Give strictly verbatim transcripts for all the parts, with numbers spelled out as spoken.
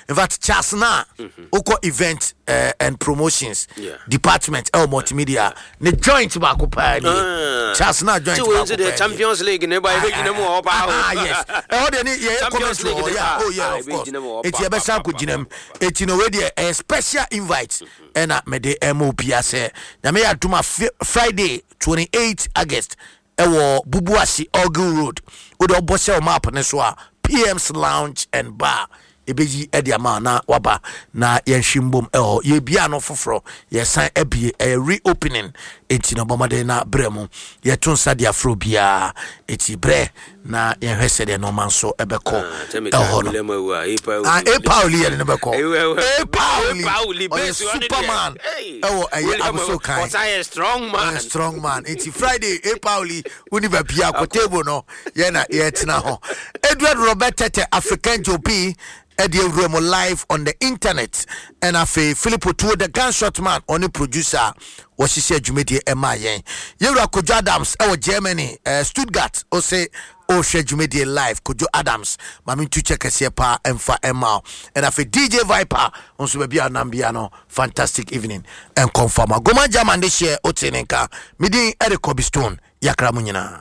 In fact, Charles na wokɔ event uh, and promotions Yeah. department ɛwɔ Multimedia ne joint baako paa nie. Ah. Charles na joint Ti wei baako nso deɛ paa nie. Champions League ne ba ɛbɛgyina mu wɔ hɔ paa o. Ah, yes, ɛhɔ deɛ ne yɛyɛ Champions commentary League wɔ de yeah. ba. Oh yeah. Ah, Of course. ɛbɛgyina mu wɔ hɔ Eti pa, yɛbɛsan pa, kɔ pa, gyina mu. Eti no wei deɛ ɛyɛ special invite ɛna mede ɛma obia sɛ Nyame yɛ adom a Fi- Friday twenty-eight August ɛwɔ Bubuasi Orgil Road. Wode ɔbɔ sɛ wo map ne so a, P M's Lounge and Bar ɛbɛyi ɛde ama wo na waba na yɛnhwe mbom. Ɛhɔ yɛbia no foforɔ, yɛsan abie, ɛyɛ reopening. Enti no bɔmmɔden na berɛ mu yɛto nsa de afrɛ biara. Enti berɛ na yɛhwɛ sɛdeɛ nɔɔma nso ɛbɛkɔ Ah, sɛ meka ɛhɔ no. William awu a, Epa Ah, Owuli. A Pauli yɛde no bɛkɔ. Ewu, ewu. A Pauli. A Pauli, ɔyɛ base ɔne deɛ. Superman. Hey. Ɛwɔ ɛyɛ William aboso awu, kan. ɔsan yɛ strong man. Ɔyɛ strong man. Nti Friday, A Pauli woni baabi akɔ table no yɛna yɛtena hɔ. Edward Robert Tete African Jopi ɛde awura mu live on the internet. Ɛna afei Philip Otuo, the gunshot man, ɔne producer a wɔhyehyɛ dwumadie ɛma yɛn. Yɛwura Kojo Adams ɛwɔ Germany, uh, Stuttgart, ɔsɛ ɔrehwɛ dwumadie live. Kojo Adams, maame ntu kyɛ kɛseɛ paa ɛmfa ɛma wo. Ɛna afei D J Viper nso, baabi a nam bia no, fantastic evening ɛnkɔmfama Goma German de hyɛ wote ne nka. Medin ɛde Kobi Stone. Yakra mu nyinaa.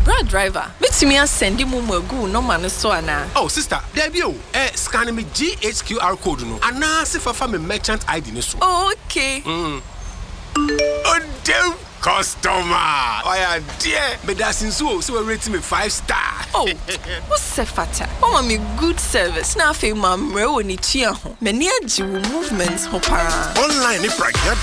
Bra driver, metumi asend MoMo agu wo nɔma no so anaa? Oh sister, dabi o. Eh, scan me G H Q R code no anaasɛ fafa me merchant I D no so. Oh, okay. Odem customer ɔyɛ adeɛ, meda ase nso o sɛ wɔarate me five star. Oh, wosɛ fata wama me good service na afei mammrɛ wɔ ne tua ho. M'ani agye wo movement ho paa. Online ne pragya.